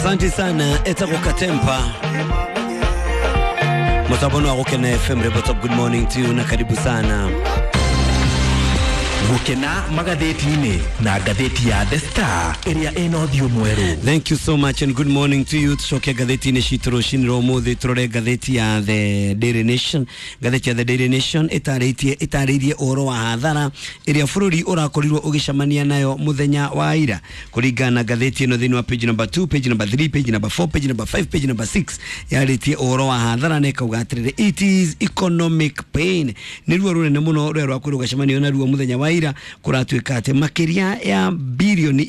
Asante sana etagwo Katempa mutabono wa Gukena FM. Report of good morning to you na karibu sana. Gukena magathĩti-inĩ na ngathĩti ya The Star ĩrĩa ĩna ũthiũ mwerũ. Thank you so much and good morning to you. Tucoke ngathĩti-inĩ citũ rũcinĩ rwa ũmũthĩ, tũrore ngathĩti ya The Daily Nation. Ngathĩti ya The Daily Nation ĩtarĩirie ũhoro wa hathara ĩrĩa bũrũri ũrakorirwo ũgĩcemania nayo mũthenya wa ira. Kũringana na ngathĩti ĩno, thĩinĩ wa page number 2, page number 3, page number 4, page number 5, page number 6, yarĩtie ũhoro wa hathara na ĩkauga atĩrĩrĩ, "It is economic pain." Nĩ ruo rũnene mũno rũrĩa rwakorirwo rũgacemanio naruo mũthenya wa ira. Kũratuĩka atĩ makĩria ya 3 birioni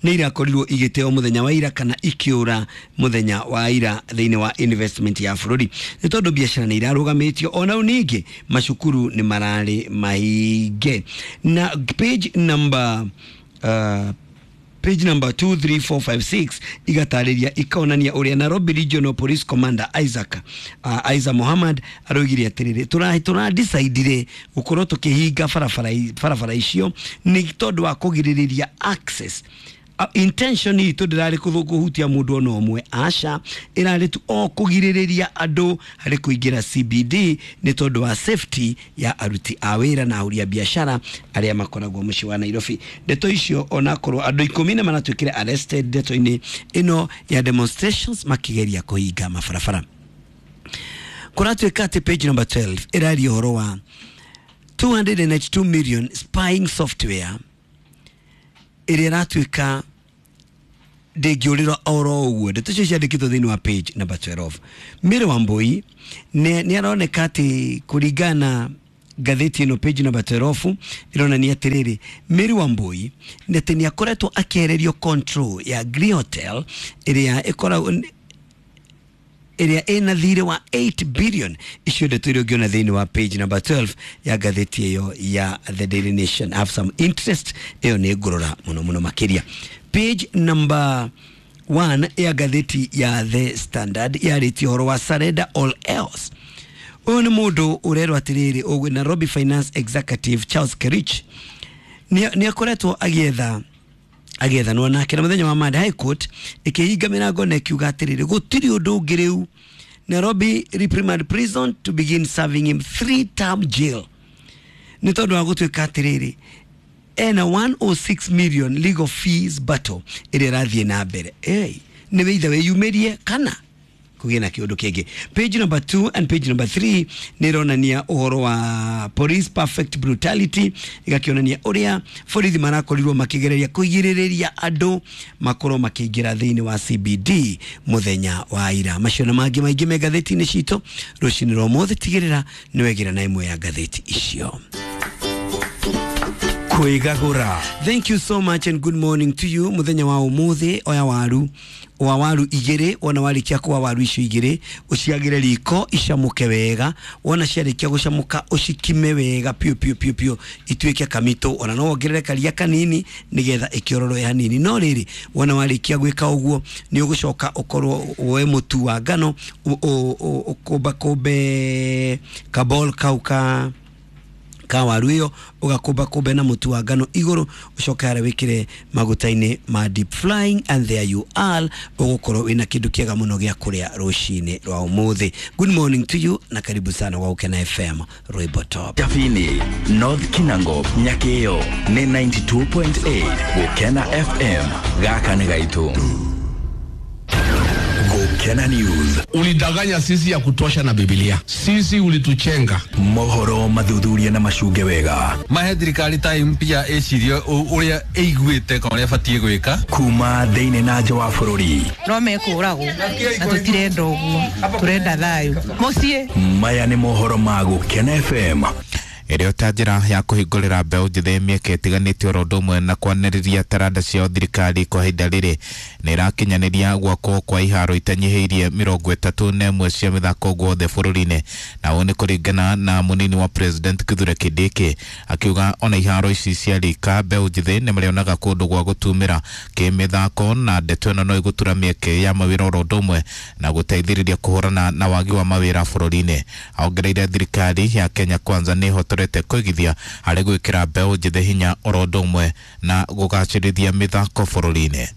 nĩ irakorirwo igĩteo mũthenya wa ira kana ikĩũra mũthenya wa ira thĩinĩ wa investment ya bũrũri, nĩ tondũ biacara nĩ irarũgamĩtio, ona rĩu ningĩ macukuru nĩ mararĩ mahinge. Na page number 2 3 4 5 6 igatarĩria, ikaonania ũrĩa Nairobi Regional Police Commander Isaac Muhammad aroigire atĩrĩrĩ, tũra decidire gũkorwo tũkĩhinga barabara icio nĩ tondũ wa kũgirĩrĩria access. Intention itũ ndĩrarĩ kũhutia mũndũ ona ũmwe, aca, ĩrarĩ tu o kũgirĩrĩria andũ harĩ kũingĩra CBD nĩ tondũ wa safety ya aruti a wĩra na ahũri a biacara arĩa makoragwo mũciĩ wa Nairobi. Ndeto icio, onakorwo andũ 10 nĩ maratuĩkire arrested ndeto-inĩ ĩno ya demonstrations makĩgeria kũhinga mabarabara. Kũratuĩka atĩ page number 12 ĩraria ũhoro wa 292 million spying software ĩrĩa ĩratuĩka ndĩngĩũrĩra oro ũguo. Ndeto icio ciandĩkĩtwo thĩinĩ wa page number 12. Mary Wambui nĩ aroneka atĩ, kũringana na ngathĩti ĩno, page number 12 ĩronania atĩrĩrĩ, Mary Wambui nĩ atĩ nĩ akoretwo akĩehererio control ya Green Hotel ĩrĩa ĩkoragwo ĩrĩa ĩna thirĩ wa 8 billion. Icio ndeto iria ũngĩona thĩinĩ wa page number 12 ya ngathĩti ĩyo ya The Daily Nation. Have some interest, ĩyo nĩ ngũrora mũno mũno makĩria. Page number 1 ya ngathĩti ya The Standard yarĩtie ũhoro wa surrender all else. Ũyũ nĩ mũndũ ũrerwo atĩrĩrĩ, ũguo Nairobi Finance Executive Charles Kerich nĩ akoretwo agĩethanwo nake, na mũthenya wa Monday High Court ĩkĩhinga mĩrango na ĩkiuga atĩrĩrĩ, gũtirĩ ũndũ ũngĩ rĩu, Nairobi Remand Prison to begin serving him three term jail, nĩ tondũ wa gũtuĩka atĩrĩrĩ, ena 106 million legal fees battle ĩrĩa ĩrathiĩ na mbere. Hey, nĩ wĩitha wĩyumĩrie kana kũgĩe na kĩũndũ kĩngĩ. Page number 2 and page number 3 nĩ ĩronania ũhoro wa police perfect brutality, ĩgakĩonania ũrĩa borithi marakorirwo makĩgereria kũgirĩrĩria andũ makorwo makĩingĩra thĩinĩ wa CBD mũthenya wa ira. Macio na mangĩ maingĩ me ngathĩti-inĩ citũ rũcinĩ rwa ũmũthĩ. Tigĩrĩra nĩ wegĩra na ĩmwe ya ngathĩti icio. Kwĩgagũra. Thank you so much and good morning to you. Muthenya wa umuthi, oya waru wa waru igĩrĩ. Wona warĩkia kuwa waru icio igĩrĩ, ũciagĩre riko icamũke wega. Wona ciarĩkia gũcamũka, ũcikime wega piũ piũ piũ piũ ituĩke kamitũ. Ona no wongerere karia kanini nĩgetha ĩkĩororoe hanini. No rĩrĩ, wona warĩkia gwĩka ũguo, nĩ ũgũcoka ũkorwo woe mũtu wa ngano, ũkũmbakũmbe kabol kau ka waru ĩyo, ũgakũmba kũmbe na mũtu wa ngano igũrũ, ũcoke harĩa wĩkĩre maguta-inĩ ma deep frying, and there you are, ũgũkorwo wĩna kĩndũ kĩega mũno gĩa kũrĩa rũcinĩ rwa ũmũthĩ. Good morning to you na karibu sana wa Gukena FM, rwĩmbo top. Jabini, North Kinango, Nyakeo nĩ 92.8 Gukena FM. Gaka nĩ gaitũ. Gukena News. Ulidanganya sisi ya kutosha na Biblia. Sisi ulituchenga. Mohoro mathuthurie na macunge wega. Mahe thirikari time pia ĩcirie ũrĩa ĩiguĩte kana ũrĩa ĩbatiĩ gwĩka. Kuma thĩinĩ na nja wa bũrũri. No mekũragwo na tũtirenda ũguo, tũrenda thayũ mũciĩ. Maya nĩ mohoro ma Gukena FM. Ĩrĩa ta njĩra ya kũhingũrĩra mbeũ njĩthĩ mĩeke ĩtiganĩte oro ũndũ ũmwe na kwanĩrĩria taranda ciao, thirikari kwa ihinda rĩrĩ nĩ ĩrakinyanĩria gwakwo kwa iharo itanyihĩirie 31 cia mĩthako guothe bũrũri-inĩ. Na ũũ nĩ kũringana na mũnini wa president Kithure Kindiki, akiuga ona iharo ici cia rika, mbeũ njĩthĩ nĩ marĩonaga kũndũ gwa gũtumĩra kĩmĩthako, na ndeto ĩno no ĩgũtura mĩeke ya mawĩra oro ũndũ ũmwe na gũteithĩrĩria kũhũrana na wagi wa mawĩra bũrũri-inĩ. Aongereire thirikari ya Kenya Kwanza nĩ ĩhotorete kwĩgithia harĩ gwĩkĩra mbeũ njĩthĩ hinya oro ũndũ ũmwe na gũgacĩrithia mĩthako bũrũri-inĩ.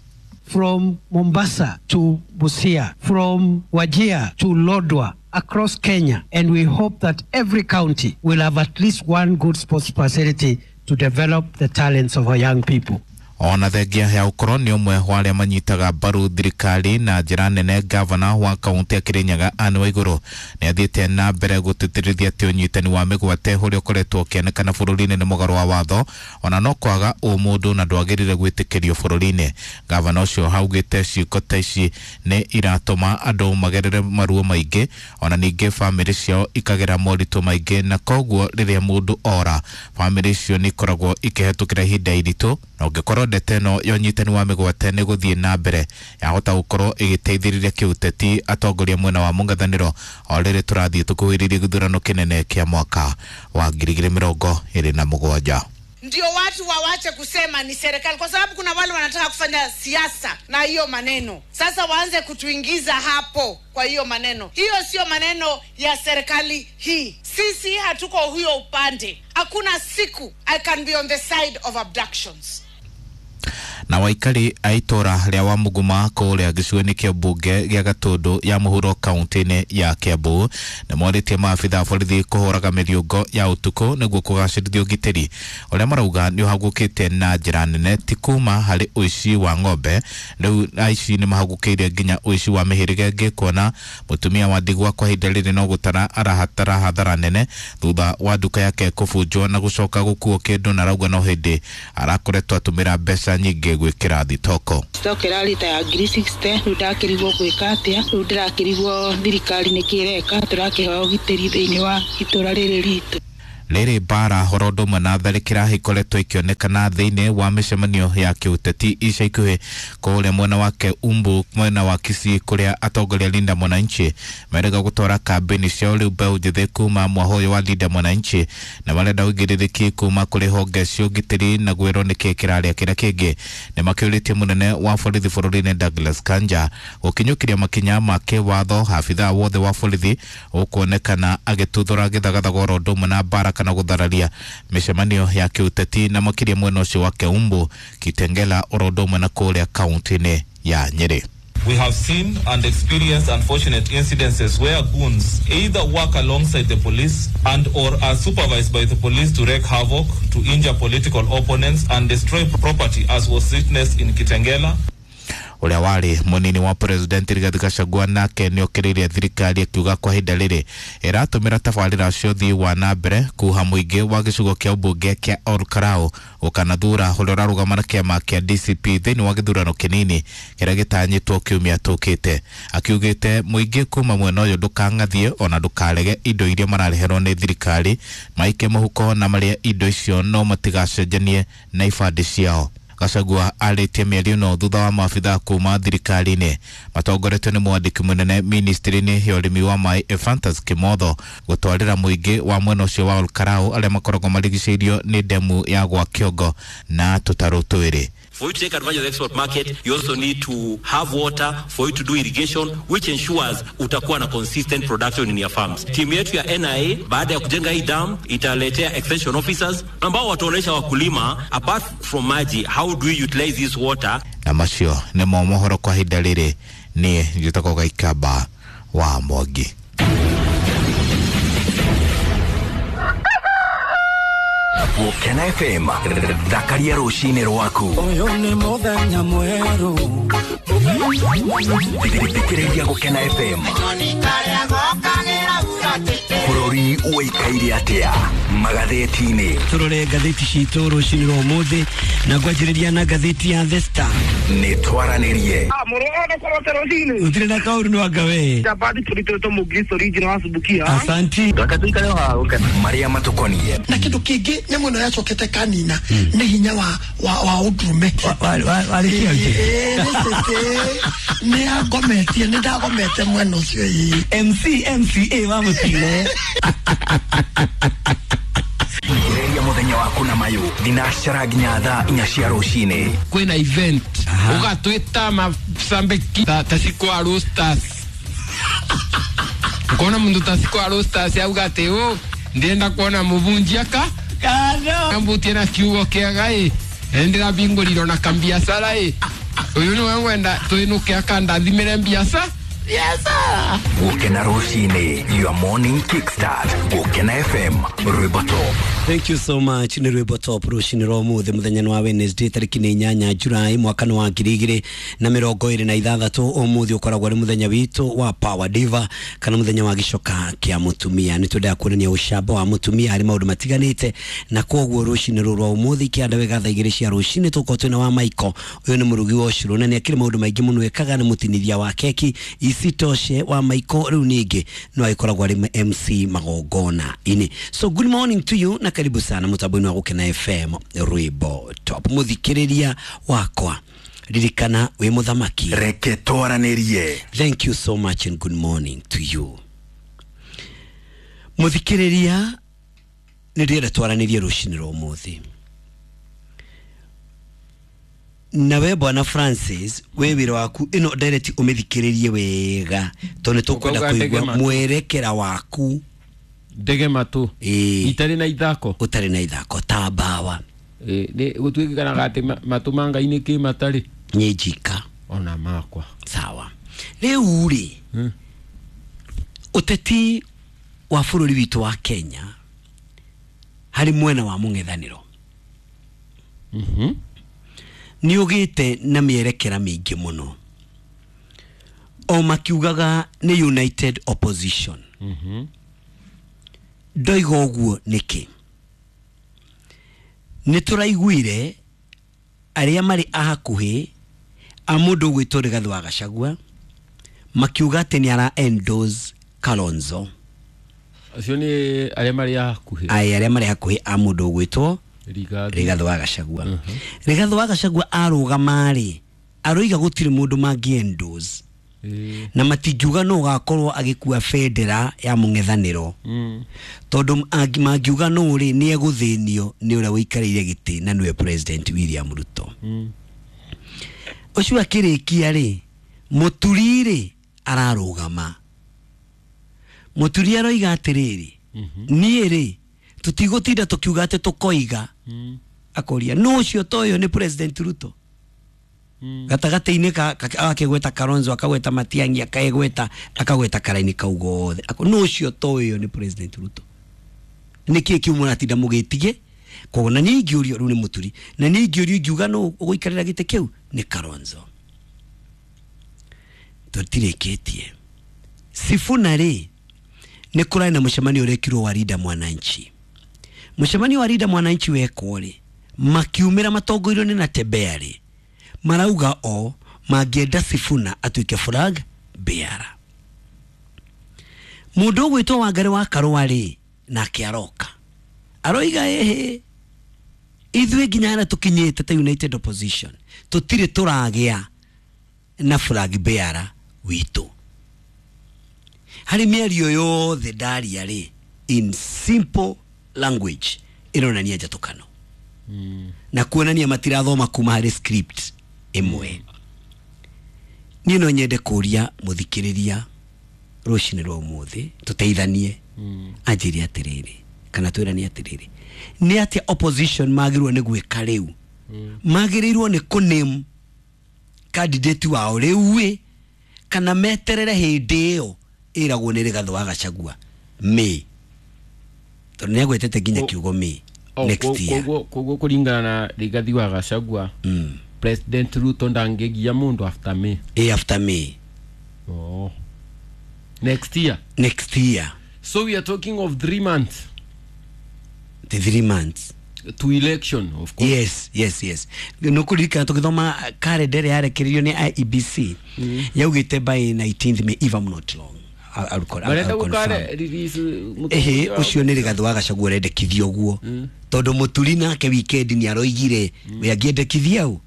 From Mombasa to Busia, from Wajir to Lodwar, across Kenya, and we hope that every county will have at least one good sports facility to develop the talents of our young people. Ona thengia ya ũkorwo nĩ ũmwe wa arĩa manyitaga mbaru thirikari na njĩra nene, gavana wa kaunti ya Kirinyaga Anne Waigũrũ nĩ athiĩte na mbere gũtĩtĩrithia atĩ ũnyitani wa mĩgwate ũrĩa ũkoretwo ũkĩonekana bũrũri-inĩ nĩ mũgarũ wa watho ona no kwaga ũmũndũ na ndwagĩrĩire gwĩtĩkĩrio bũrũri-inĩ. Gavana ũcio augĩte ciĩko ta ici nĩ iratũma andũ magerere maruo maingĩ ona ningĩ bamĩrĩ ciao ikagera moritũ maingĩ, na koguo rĩrĩa mũndũ ora bamĩrĩ icio nĩ ikoragwo ikĩhetũkĩra ihinda iritũ, na ũngĩkorwo ndete ĩno ya ũnyitani wa mĩgwate nĩ gũthiĩ na mbere yahota gũkorwo ĩgĩteithĩrĩria kĩũteti atongoria mwena wa mũng'ethanĩro o rĩrĩ tũrathiĩ tũkuhĩrĩirie gĩthurano kĩnene kĩa mwaka wa 2027. Ndio watu wawache kusema ni serikali, kwa sababu kuna wale wanataka kufanya siasa na hiyo maneno. Sasa waanze kutuingiza hapo kwa hiyo maneno. Hiyo sio maneno ya serikali hii. Sisi hatuko huyo upande. Hakuna siku I can be on the side of abductions. Na waikari a itũra rĩa Wamũnguma kũrĩa gĩcigo-inĩ kĩa mbunge gĩa Gatũndũ ya mũhuro kaunti-inĩ ya Kiambu nĩ morĩtie maabitha a borithi kũhũraga mĩriũngo ya ũtukũ nĩguo kũgacĩrithia ũgitĩri ũrĩa marauga nĩ ũhagũkĩte na njĩra nene ti kuma harĩ ũici wa ng'ombe. Rĩu aici nĩ mahagũkĩire nginya ũici wa mĩhĩrĩga ĩngĩ, kuona mũtumia wa ndigwa kwa ihinda rĩrĩ no gũtara arahatara hathara nene thutha wa nduka yake kũbunjwo na gũcoka gũkuo kĩndũ, na arauga no hĩndĩ arakoretwo atũmĩra mbeca nyingĩ gwĩkĩra thitoko. Stock ĩrarĩ ta ya 60,000, rĩu ndakĩrigwo gwĩka atĩa, rĩu ndĩrakĩrigwo thirikari nĩkĩ ĩreka, tũrakĩhoya ũgitĩri thĩinĩ wa itũra rĩrĩ ritũ. Rĩrĩ mbara horo ũndũ ũmwe na tharĩkĩra ikoretwo ikĩonekana thĩinĩ wa mĩcemanio ya kĩũteti ica ikuhĩ kũrĩa mwena wake Umbu mwena wa Kisii kũrĩa atongoria Linda Mwananchi merega gũtwara kambĩini ciao rĩu mbeũ njĩthĩ kuma mwaho ũyũ wa Linda Mwananchi na marenda ũigĩrĩrĩki kuma kũrĩ honge cia ũgitĩri na gwĩrwo nĩkĩ kĩrarĩa kĩrĩa kĩngĩ. Nĩ makĩũrĩtie mũnene wa borithi bũrũri-inĩ Douglas Kanja gũkinyũkĩria makinya ma kĩwatho abithaa wothe wa borithi ũkuonekana agĩtuthũra gĩthagathago oro ũndũ ũmwe na mbara kana gũthararia mĩcemanio ya kĩũteti na makĩria mwena ũcio wa Keumbu, Kitengela oro ũndũ ũmwe na kũrĩa kaunti-inĩ ya Nyĩrĩ. We have seen and experienced unfortunate incidences where goons either work alongside the police and or are supervised by the police to wreak havoc, to injure political opponents and destroy property, as was witnessed in Kitengela. Ũrĩa warĩ mũnini wa president Rigathi Gachagua nake nĩ okĩrĩire thirikari akiuga kwa ihinda rĩrĩ ĩratũmĩra tabarĩra cia ũthii wa na mbere kuha mũingĩ wa gĩcigo kĩa ũmbunge kĩa Ol Kalou gũkanathura ũrĩa ũrarũgama na kĩama kĩa DCP thĩinĩ wa gĩthurano kĩnini kĩrĩa gĩtanyĩtwo kiumia tũkĩte. Akiugĩte mũingĩ kuma mwena ũyũ ndũkang'athie ona ndũkarege indo iria marareherwo nĩ thirikari, maike mũhuko na marĩe indo icio no matigacenjanie na ibandĩ ciao. Gachagua arĩtie mĩario ĩno thutha wa maabithaa kuma thirikari-inĩ matongoretio nĩ mwandĩki mũnene ministry-inĩ ya ũrĩmi wa maĩ Ephantus Kimotho gũtwarĩra mũingĩ wa mwena ũcio wa Ol Kalou arĩa makoragwo marigicĩirio nĩ ndemu ya gwa Kĩongo na tũtarũ twĩrĩ. For you to take advantage of the export market, you also need to have water for you to do irrigation, which ensures utakuwa na consistent production in your farms. Timu yetu ya NIA, baada ya kujenga hii dam, italetea extension officers ambao wataonesha wakulima, apart from maji, how do we utilize this water. Na macio nĩmo mohoro kwa ihinda rĩrĩ. Niĩ njĩtagwo Gaikamba wa Mwangi. Gũkena FM, thakaria rũcinĩ rwaku. Ũyũ nĩ mũthenya mwerũ. Thikĩrĩria Gũkena FM. Bũrũri ũikaire atĩa magathĩti-inĩ? Tũrore ngathĩti citũ rũcinĩ rwa ũmũthĩ na ngwanjĩrĩria na ngathĩti ya The Star. Nĩ twaranĩrie. Gũtirĩ na kaũru nĩ wanga we. Asanti. Marĩa matũkoniĩ na kĩndũ kĩngĩ nyamũ ĩno yacokete kanina nĩ hinya wa ũndũrũme. Nĩ angometie, nĩ ndagomete mwena ũcio ĩĩ. MC MCA wa mũtino. Thikĩrĩria mũthenya waku na mayũ thinacara nginya thaa 4 cia rũcinĩ. Kwĩna event ũgatwĩta macambĩki ta Cikwa Roasters. Ukona mundu ta Cikwa Roasters auga atĩ ũ ndĩrenda kuona mũbunjia ka ambutie na kiugo kĩega ĩ ndĩrabingũrirwo na kambiacara ĩ. Uyu niwe ngwenda twinuke akandathimire mbiaca. Biacara. Gukena rucini, your morning kickstart. Gukena FM, Rwimbo Top. Thank you so much. Nĩ rwĩmbo top rũcinĩ rwa ũmũthĩ, mũthenya wa Wednesday, tarĩki nĩ 8 Julai mwaka nĩ wa 2026. Ũmũthĩ ũkoragwo arĩ mũthenya witũ wa Power Diva kana mũthenya wa gĩcoka kĩa mũtumia. Nĩ twendaga kuonania ũcamba wa mũtumia harĩ maũndũ matiganĩte, na koguo rũcinĩ rũrũ rwa ũmũthĩ kĩanda wega thaa 2 cia rũcinĩ tũkorwo twĩna wa Michael. Ũyũ nĩ mũrugi wa ũcũrũ na nĩ akĩrĩ maũndũ maingĩ mũno ekaga, nĩ mũtinithia wa keki. Isitoshe wa Michael rĩu ningĩ no agĩkoragwo arĩ MC magongona-inĩ. So good morning to you na karibu sana mũtambo-inĩ wa Gũkena FM Rwĩmbo Top. Mũthikĩrĩria wakwa, ririkana wĩ mũthamaki. Reke twaranĩrie. Thank you so much and good morning to you. Mũthikĩrĩria, nĩ ndĩrenda twaranĩrie rũcinĩ rwa ũmũthĩ nawe bwana Francis. We wĩra waku ĩno direct ũmĩthikĩrĩrie wega tondũ nĩ tũkwenda Ũkauga ndege kũigua matũ. mwerekera waku. Ndege matũ. Ĩĩ. Itarĩ na ithako. Ũtarĩ na ithako ta mbawa. Nĩ gũtuĩkanaga atĩ matũ ma Ngai nĩ kĩ matarĩ. Nĩ njika. Ona makwa. Sawa. Rĩu rĩ, ũteti wa bũrũri witũ wa Kenya harĩ mwena wa mũng'ethanĩro nĩ ũgĩte na mĩerekera mĩingĩ mũno, o makiugaga nĩ united opposition. Ndoiga ũguo nĩkĩ? Nĩ tũraiguire arĩa marĩ a hakuhĩ a mũndũ ũgwĩtwo Rigathĩ wa Gachagua makiuga atĩ nĩ ara endorse Kalonzo. Acio nĩ arĩa marĩ a hakuhĩ. Aĩ, arĩa marĩ hakuhĩ a mũndũ ũgwĩtwo Rigathi. Rigathĩ wa Gachagua. Rigathĩ wa Gachagua arũgama rĩ, aroiga gũtirĩ mũndũ mangĩ endorse na matingiuga no ũgakorwo agĩkua bendera ya mũng'ethanĩro, tondũ mangiuga no rĩ, nĩ egũthĩnio nĩ ũrĩa ũikarĩire gĩtĩ na nĩwe President William Ruto. Ũcio akĩrĩkia rĩ, Mũturi rĩ ararũgama. Mũturi aroiga atĩrĩrĩ, niĩ rĩ tũtigũtinda tũkiuga atĩ tũkoiga. Akoria no ũcio to ũyũ nĩ President Ruto gatagatĩ-inĩ akĩgweta Kalonzo, akagweta Matiang'i, akagweta akagweta karaini kau gothe. No ũcio to ũyũ nĩ President Ruto, nĩkĩ kĩu mũratinda mũgĩtige? Koguo na niĩ ingĩũrio rĩu nĩ Mũturi, na niĩ ingĩũrio ingiuga no ũgũikarĩra gĩtĩ kĩu nĩ Kalonzo. Tũtirĩkĩtie. Sifuna rĩ, nĩ kũrarĩ na mũcemanio ũrekirwo wa Linda Mwananchi. Mũcemanio wa Linda Mwananchi wekwo rĩ, makiumĩra matongoirio nĩ Natembeya rĩ, marauga o mangĩenda Sifuna atuĩke flag bearer. Mũndũ ũgwĩtwo Wangari wa Karũa rĩ, nake aroka aroiga ĩhĩ, ithuĩ nginya harĩa tũkinyĩte ta united opposition tũtirĩ tũragĩa na flag bearer witũ. Harĩ mĩario yothe ndaria rĩ, in simple language ĩronania njatũkano na kuonania matirathoma kuma harĩ script ĩmwe. Niĩ no nyende kũria mũthikĩrĩria rũcinĩ rwa ũmũthĩ tũteithanie, anjĩre atĩrĩrĩ kana twĩranie atĩrĩrĩ, nĩ atĩa opposition magĩrĩirwo nĩ gwĩka rĩu? Magĩrĩirwo nĩ kũname candidate wao rĩu ĩ, kana meterere hĩndĩ ĩyo ĩragwo nĩ Rigathĩ wa Gachagua May, tondũ nĩ agwetete nginya kiugo May next year. Koguo kũringana na Rigathi wa Gachagua, President Ruto ndangĩgia mũndũ after May. Ĩ, after May. Oh. Next year. Next year. So we are talking of 3 months. The 3 months to election, of course. Yes. Nũkũririkana tũgĩthoma kalenda ĩrĩa yarekereirio nĩ IEBC, yaugĩte by 19th May, if I'm not wrong. I'll Marenda confirm. gũkare release Ehe, ũcio nĩ Rigathĩ wa Gachagua ũrendekithia ũguo, tondũ Mũturi nake weekend nĩ aroigire we angĩendekithia ũ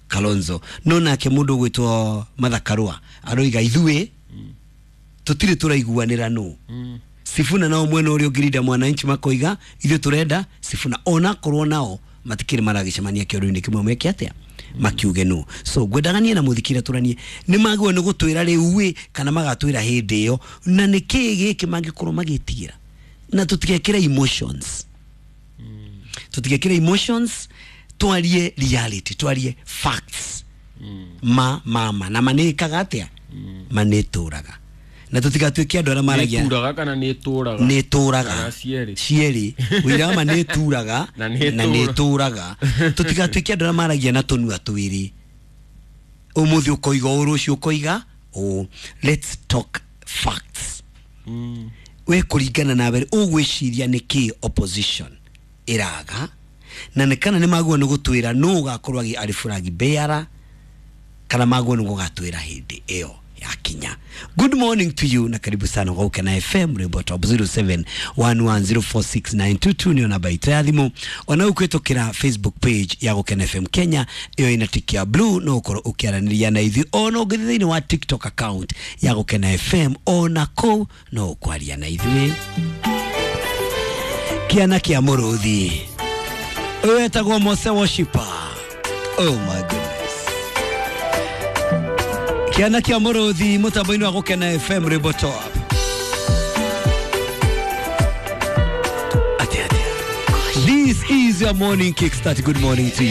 Kalonzo. No nake mũndũ ũgwĩtwo Martha Karũa aroiga ithuĩ tũtirĩ tũraiguanĩra nũ Sifuna, nao mwena ũrĩa ũngĩ Linda Mwananchi makoiga ithuĩ tũrenda Sifuna, onakorwo nao matikĩrĩ maragĩcemania kĩoro-inĩ kĩmwe meke atĩa makiuge nũ. So ngwendaga niĩ na mũthikĩria tũranie, nĩ magĩrĩirwo nĩ gũtwĩra rĩu ĩ kana magatwĩra hĩndĩ ĩyo, na nĩ kĩĩ gĩkĩ mangĩkorwo magĩtigĩra, na tũtigekĩre emotions, tũtigekĩre emotions, twarie reality, twarie facts. Ma mama na ma nĩ ĩkaga atĩa? Ma nĩ ĩtũraga, na tũtigatuĩke andũ arĩa maragia. Nĩ kana nĩ ĩtũraga? Nĩ ĩtũraga. Kana cierĩ? Cierĩ, ũira wa ma nĩ ĩturaga. Na nĩ na nĩ ĩtũraga. Tũtigatuĩke andũ arĩa maragia na tũnua twĩrĩ, ũmũthĩ ũkoiga ũũ, rũciũ ũkoiga ũũ. Let's talk facts. We kũringana nawe ũgwĩciria nĩ kĩ opposition ĩraga, na nĩ kana nĩ magwo nĩ gũtwĩra nũ ũgakorwo arĩ flag bearer, kana magwo nĩ gũgatwĩra hĩndĩ ĩyo yakinya? Good morning to you na karibu sana kwa Gukena FM Rwimbo Top. 0711046922 nĩyo namba itũ ya thimũ. Ona ũkwĩtũkĩra Facebook page ya Gukena FM Kenya, ĩyo ĩna tick ya blue, no ũkorwo ũkĩaranĩria na ithuĩ. Ona ũngĩthiĩ thĩinĩ wa TikTok account ya Gukena FM, ona kũu no ũkwaria na ithuĩ. Kĩana kĩa mũrũthi ũyũ wetagwo Mose Worshiper. Oh my goodness, kĩana kĩa mũrũthi mũtambo-inĩ wa Gũkena FM Rwimbo Top. Atĩa atĩa? This is your morning kickstart. Good morning to you.